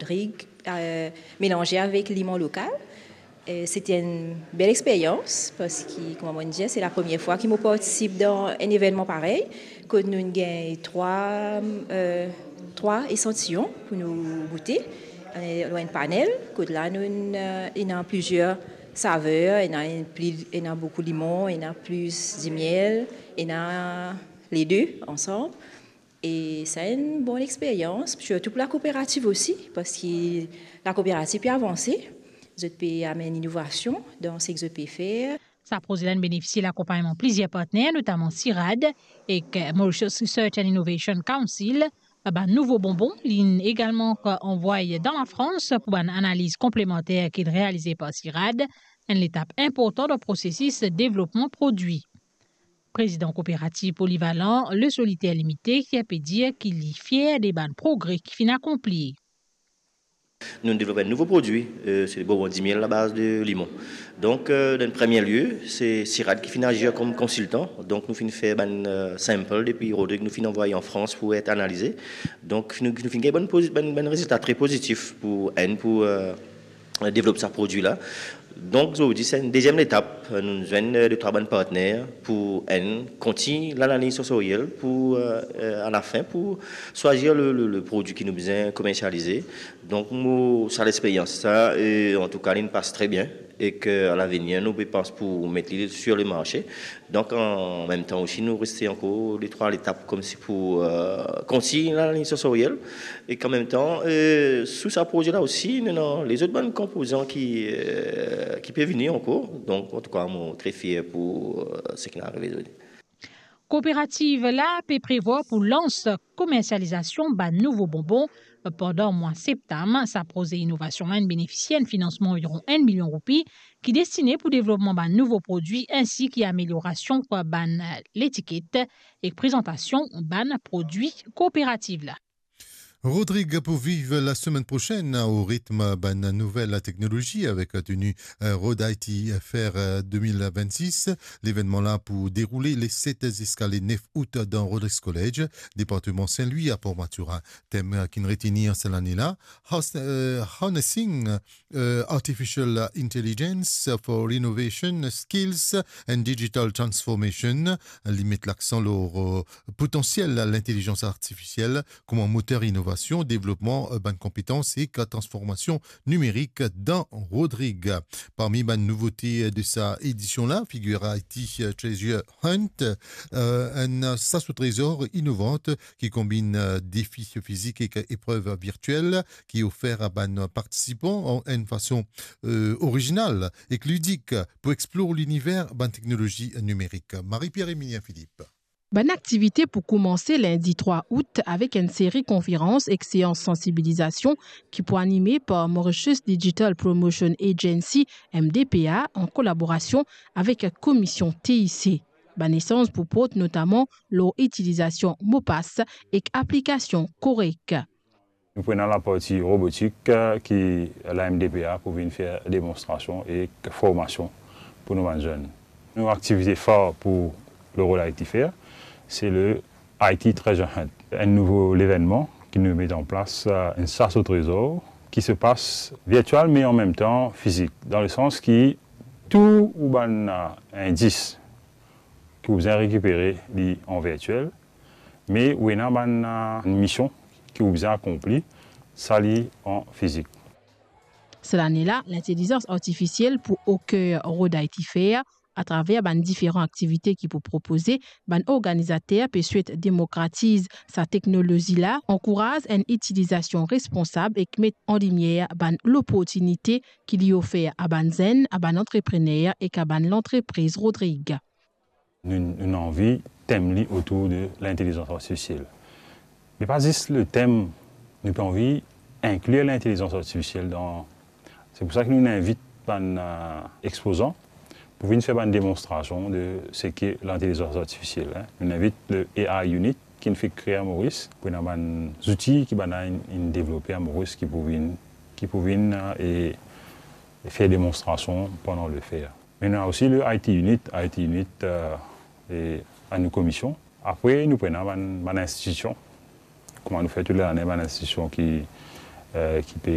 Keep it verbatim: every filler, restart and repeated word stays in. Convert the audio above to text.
Rodrig, euh, melanze avek limon lokal. Euh, se ti enn bel experyans, parski, kouma mo dir, se lapremier fwa ki mo partisip dan enn evennman parey, kot nou gagn trwa, euh, trwa esantiyon pou nou goute, euh, lor enn panel, kot la nou, euh, ena plizier saver, ena enn pli, ena boukou limon, ena plis dimiel, ena le de ansam. E sa enn bon experyans, sirtou pou lakooperativ osi, parski lakooperativ pe avanse, zot pe amenn inovasion dan seki zot pe fer. Sa proze la inn benefisie lakonpagnman plizier partner, notaman CIRAD ek Mauritius Research and Innovation Council. Bann nouvo bonbon, li inn egalman anvway dan Lafrans pou bann analiz konplemanter ki inn realize par CIRAD, enn letap inportan dan prosesis devlopman prodwi. Prezidan kooperativ polivalan Le Solitaire Limité, ki pe dir ki li fier de bann progre ki finn akonpli. Nou devlop enn nouvo prodwi, euh, se bonbon dimiel a baz de limon. Donk, euh, dan premie lie, se CIRAD ki finn azir kom konsiltan. Donk, nou finn fer bann, euh, sample depi Rodrig, nou finn anvway an Frans pou et analize. Donk, nou, nou finn gagn bann pozi-, bann, bann rezilta tre pozitif pou enn, pou, euh, devlop sa prodwi la. Donk, zordi, se enn deziem letap. Nou zwenn, euh, de trwa bann partner pou enn kontign lanaliz sansoriel pou, euh, euh, alafin pou swazir le, le, le prodwi ki nou bizin komersialize. Donk, mo, sa lexperyans sa, e, antouka, li pas tre bien, e ke a lavenir, nou pe pans pou met li sur le marse. Donk, an mem tan osi, nou reste ankor de trwa letap koumsi pou, euh, kontign lanaliz sansoriel. E an mem tan, euh, sou sa proze la osi, nou ena lezot bann konpozan ki, euh, ki pe vini ankor. Donk, antouka, mo tre fier pou, euh, seki inn arive zordi. Kooperativ la pe prevwar pou lans komersializasion bann nouvo bonbon pandan mwa septam. Sa proze inovasion la inn benefisie enn finansman anviron enn milion roupi ki destine pou devlopman bann nouvo prodwi, ensi ki ameliorasion bann letiket ek prezantasion bann prodwi kooperativ la. Rodrig pou viv lasemenn prosenn o ritm bann nouvel teknolozi avek teni, eh, Road I T Fair, eh, de mil vennsis. Levennman la pou deroule le set ziska le nef out dan Rodrigues College, departman Saint-Louis, a Port Mathurin. Tem, eh, ki'nn retenir sa lane la, Has-, eh, Harnessing, eh, Artificial Intelligence for Innovation, Skills and Digital Transformation. Li met laksan lor, eh, potansiel lintelizans artifisiel kouma moter inovasion, devlopman, eh, bann konpetans ek transformasion nimerik dan Rodrig. Parmi bann nouvote de sa edision la, figir I T Treasure Hunt, eh, enn sas o trezor inovan ki konbinn, eh, defi fizik ek eprev virtiel ki ofer a bann partisipan an enn fason, eh, orizinal ek lidik pou explor liniver bann teknolozi nimerik. Marie-Pierre Emilien Philippe. Bann aktivite pou koumanse lindi trwa out avek enn seri konferans ek seans sansibilizasion ki pou anime par Mauritius Digital Promotion Agency, M D P A, an kolaborasion avek Komision T I C. Bann esanz pou port notaman lor itilizasion mo pas ek aplikasion korek. Nou pou ena laparti robotik, eh, ki la M D P A pou vinn fer demonstrasion ek formasion pou nou bann zenn. Nou aktivite far pou le Road I T Fair, se le I T Treasure Hunt, enn nouvo levennman ki nou met an plas, eh, enn sas o trezor ki se pas virtiel, me an mem tan fizik, dan le sans ki tou ou bann, eh, indis ki ou bizin rekipere li an virtiel, me ou ena bann, eh, mision ki ou bizin akonpli, sa li an fizik. Sa lane la, lintelizans artifisiel pou oker Road I T Fair atraver bann diferan aktivite ki pou propoze. Bann organizater pe swet demokratiz sa teknolozi la, ankouraz enn itilizasion responsab ek met an limier bann loportinite ki li ofer a bann zenn, a bann antreprener ek a bann lantrepriz Rodrig. Nou, nou anvi tem li otour de lintelizans artifisiel. Me pa zis le tem, nou pe anvi inklir lintelizans artifisiel dan, se pou sa ki nou invit bann, eh, expozan pou vinn fer bann demonstrasion de seki lintelizans artifisiel, en. Nou invit le A I Unit ki'nn fek kree a Moris, pou ena bann zouti ki bann la inn, inn devlope a Moris ki pou vinn, ki pou vinn, eh, e, e fer demonstrasion pandan le fair. Me nou ena osi le I T Unit, I T Unit, eh, e a nou komision. Apre, nou pou ena bann, bann institision. Kouma nou fer tou lane, bann institision ki, eh, ki pe